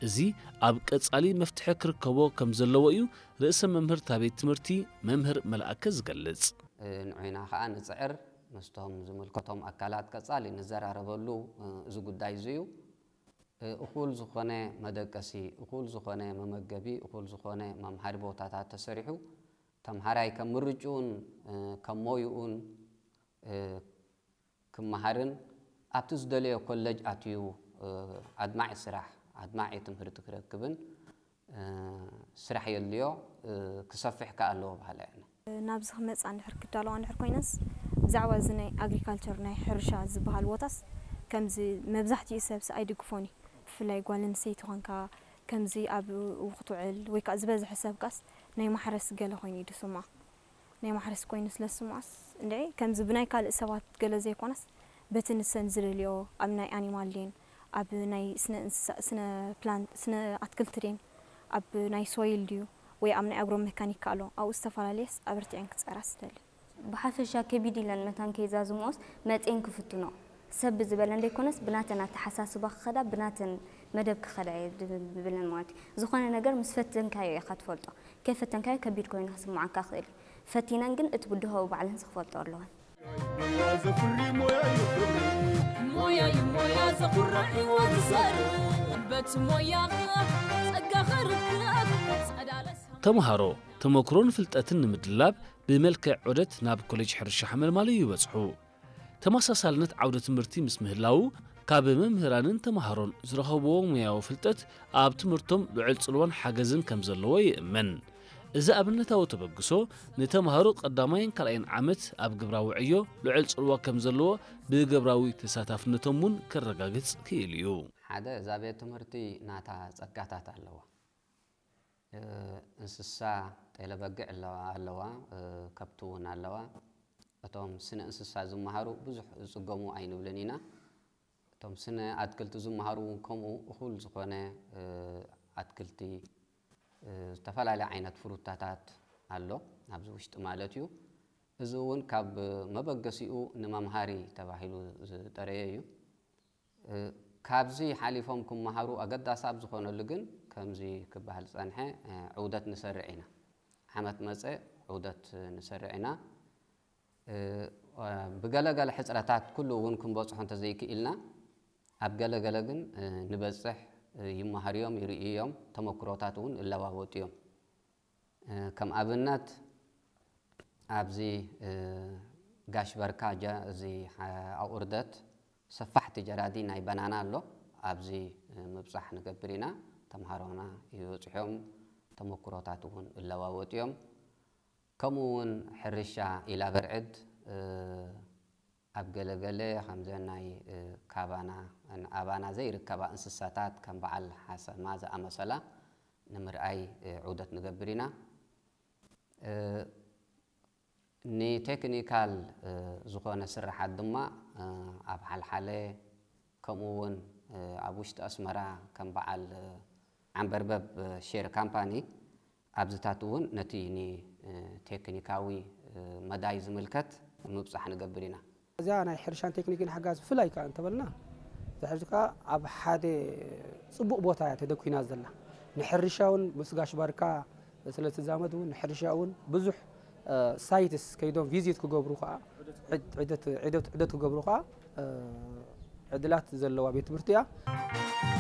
እዚ ኣብ ቀጻሊ መፍትሒ ክርከቦ ከም ዘለዎ እዩ ርእሰ መምህር እታ ቤት ትምህርቲ መምህር መልኣከ ዝገልጽ። ንዑና ከዓ ንጽዕር፣ ምስቶም ዝምልከቶም ኣካላት ቀጻሊ ንዘራረበሉ እዚ ጉዳይ እዚ እዩ። እኹል ዝኾነ መደቀሲ፣ እኹል ዝኾነ መመገቢ፣ እኹል ዝኾነ መምሃሪ ቦታታት ተሰሪሑ ተምሃራይ ከም ምርጭኡን ከም ሞይኡን ክመሃርን ኣብቲ ዝደለዮ ኮለጅ ኣትዩ ኣድማዒ ስራሕ፣ ኣድማዒ ትምህርቲ ክረክብን ስራሕ የድልዮ፣ ክሰፍሕ ከኣ ኣለዎ በሃላይ ኣነ። ናብዚ ክመጻ እንድሕር ክዳለዋ እንድሕር ኮይነስ ብዛዕባ እዚ ናይ ኣግሪካልቸር ናይ ሕርሻ ዝበሃል ቦታስ ከምዚ መብዛሕትኡ ሰብስ ኣይድግፎን እዩ። ብፍላይ ጓል ኣንስተይቲ ኮንካ ከምዚ ኣብኡ ክትውዕል ወይ ከዓ ዝበዝሐ ሰብ ካስ ናይ ማሕረስ ገለ ኮይኑ እዩ ድስምዖ። ናይ ማሕረስ ኮይኑ ስለ ዝስምዖስ እንድዒ ከምዚ ብናይ ካልእ ሰባት ገለ ዘይኮነስ በቲ ንሰን ዝደልዮ ኣብ ናይ ኣኒማል ዴን ኣብ ናይ ስነ እንስሳ ስነ ፕላንት ስነ ኣትክልቲ ዴን ኣብ ናይ ሶይል ድዩ ወይ ኣብ ናይ ኣግሮ መካኒካ ኣሎ ኣብኡ ዝተፈላለየስ ኣበርቲዐን ክፅዕራ ስደሊ። ብሓፈሻ ከቢድ ኢለን መታን ከይዛዝምኦስ መፅኤን ክፍትኖ ሰብ ብዝበለን ዘይኮነስ ብናተን ኣተሓሳስባ ክኸዳ ብናተን መደብ ክኸዳ እየ ዝብለን ማለት እዩ። ዝኾነ ነገር ምስ ፈተንካዮ ኢኻ ትፈልጦ። ከይፈተንካዮ ከቢድ ኮይኑ ክስምዓካ ይኽእል እዩ። ፈቲነን ግን እቲ ብድሆኡ ባዕለንስ ክፈልጥኦ ኣለወን። ሞያ እዩ ሞያ ዘኹርዕ ህይወት ዘር በቲ ሞያ ጸጋ ኸርክብ ጸዳለ ተምሃሮ ተመክሮን ፍልጠትን ንምድላብ ብመልክዕ ዑደት ናብ ኮሌጅ ሕርሻ ሓመልማሎ ይበጽሑ። ተመሳሳልነት ዓውደ ትምህርቲ ምስ ምህላዉ ካብ መምህራንን ተምሃሮን ዝረኸብዎ ሙያዊ ፍልጠት ኣብ ትምህርቶም ልዑል ጽልዋን ሓገዝን ከም ዘለዎ ይእመን። እዚ ኣብነታዊ ተበግሶ ንተምሃሮ ቀዳማይን ካልኣይን ዓመት ኣብ ግብራዊ ዕዮ ልዑል ጽልዋ ከም ዘለዎ ብግብራዊ ተሳታፍነቶም እውን ከረጋግጽ ክኢሉ እዩ። ሓደ እዛ ቤት ትምህርቲ ናታ ጸጋታት ኣለዋ። እንስሳ ጤለ በጊዕ ኣለዋ ኣለዋ ከብቲ እውን ኣለዋ። እቶም ስነ እንስሳ ዝመሃሩ ብዙሕ ዝፅገሙ ኣይንብልን ኢና። እቶም ስነ ኣትክልቲ ዝመሃሩ እውን ከምኡ እኹል ዝኾነ ኣትክልቲ ዝተፈላለየ ዓይነት ፍሩታታት ኣሎ ኣብዚ ውሽጢ ማለት እዩ። እዚ እውን ካብ መበገሲኡ ንመምሃሪ ተባሂሉ ዝጠረየ እዩ። ካብዚ ሓሊፎም ክመሃሩ ኣገዳሲ ኣብ ዝኾነሉ ግን ከምዚ ክበሃል ዝጸንሐ ዑደት ንሰርዕ ኢና። ዓመት መጸ ዑደት ንሰርዕ ኢና። ብገለገለ ሕጽረታት ኩሉ እውን ክንበጽሖ እንተዘይክኢልና ኣብ ገለገለ ግን ንበጽሕ ይመሃርዮም ይርእዮም ተመክሮታት እውን እለዋወጥዮም። ከም ኣብነት ኣብዚ ጋሽ በርካ እዚ ኣቑርደት ሰፋሕቲ ጀራዲ ናይ በናና ኣሎ። ኣብዚ ምብጻሕ ንገብር ኢና። ተምሃሮና ይበጽሖም ተመክሮታት እውን እለዋወጡ እዮም። ከምኡ እውን ሕርሻ ኢላ በርዕድ ኣብ ገለገለ ከምዘን ናይ ካባና ኣባና ዘይርከባ እንስሳታት ከም በዓል ሓሰማ ዝኣመሰላ ንምርኣይ ዑደት ንገብር ኢና። ንቴክኒካል ዝኾነ ስራሓት ድማ ኣብ ሓልሓለ ከምኡ እውን ኣብ ውሽጢ ኣስመራ ከም በዓል ዓንበርበብ ሼር ካምፓኒ ኣብዚታት እውን ነቲ ንቴክኒካዊ መዳይ ዝምልከት ምብፃሕ ንገብር ኢና። እዚኣ ናይ ሕርሻን ቴክኒክን ሓጋዝ ብፍላይ ከዓ እንተበልና እዛ ሕርሻ ከዓ ኣብ ሓደ ፅቡቕ ቦታ እያ ተደኲና ዘላ። ንሕርሻ እውን ምስ ጋሽ ባርካ ስለ ትዛመድ እውን ንሕርሻ እውን ብዙሕ ሳይትስ ከይዶም ቪዚት ክገብሩ ከዓ ዑደት ክገብሩ ከዓ ዕድላት ዘለዋ ቤት ትምህርቲ እያ።